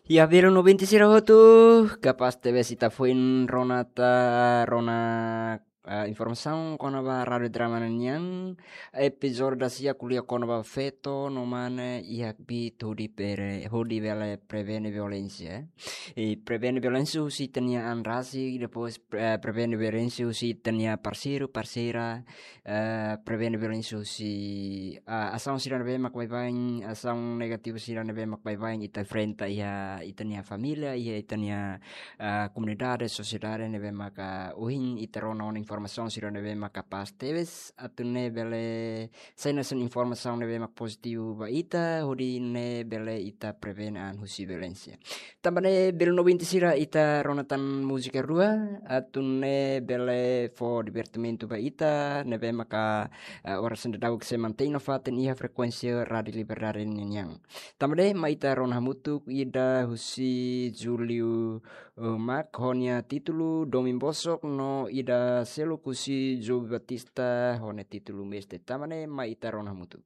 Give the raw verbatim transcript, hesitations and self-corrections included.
Ya, belun ouvinte sira hotu, kapás tebes ita foin rona ta, rona, ah, informasaun kona-ba Rádio Drama nian, epizódiu dasia ko'alia kona-ba feto no mane iha kbiit hodi bele, hodi bele prevene violénsia, eh. I prevene violénsia husi ita-nia an rasik, depois, eh, prevene violénsia husi ita-nia parseiru, parseira, eh, prevene violénsia husi, ah, asaun sira ne'ebé mak baibain, asaun negativu sira ne'ebé mak baibain ita enfrenta iha ita-nia família, iha ita-nia, ah, komunidade, sosiedade ne'ebé maka ohin ita rona ona informasaun sira ne'ebé maka kapás tebes, atu nune'e bele sai hanesan informasaun ne'ebé mak pozitivu ba ita, hodi nune'e bele ita prevene an husi violénsia. Tanba ne'e belun ouvinte sira, ita rona tan múzika rua, atu nune'e bele fó divertimentu ba ita, ne'ebé maka, eh, oras ne'e daudaun sei mantein nafatin iha frekuénsia Rádio Liberdade nian. Tanba ne'e mai ita rona hamutuk ida husi Julio, eh, Mac ho nia títulu Domin Bosok no ida seluk husi Joby Batista ho nia títulu Mestre. Tanba ne'e mai ita rona hamutuk.